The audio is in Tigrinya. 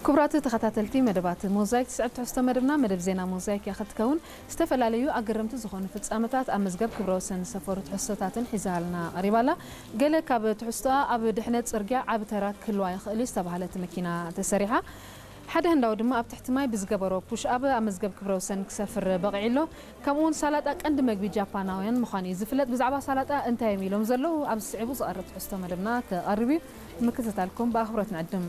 ክቡራት ተኸታተልቲ መደባት ሞዛይክ፣ ትስዕብ ትሕዝቶ መደብና መደብ ዜና ሞዛይክ እያ ክትከውን። ዝተፈላለዩ ኣገረምቲ ዝኾኑ ፍጻመታት ኣብ መዝገብ ክብረ ወሰን ዝሰፈሩ ትሕዝቶታትን ሒዛልና ቀሪባላ። ገለ ካብ ትሕዝቶኣ፣ ኣብ ድሕነት ጽርግያ ዓቢ ተራ ክህልዋ ይኽእል እዩ ዝተባህለት መኪና ተሰሪሓ። ሓደ ህንዳዊ ድማ ኣብ ትሕቲ ማይ ብዝገበሮ ፑሽ ኣብ ኣብ መዝገብ ክብረ ወሰን ክሰፍር በቒዑ ኣሎ። ከምኡውን ሳላጣ ቀንዲ መግቢ ጃፓናውያን ምዃኑ እዩ ዝፍለጥ። ብዛዕባ ሳላጣ እንታይ እዮም ኢሎም ዘለዉ ኣብ ዝስዕቡ ዝቐርብ ትሕዝቶ መደብና ክቐርብ እዩ። ምክትታልኩም ብኣኽብሮት ንዕድም።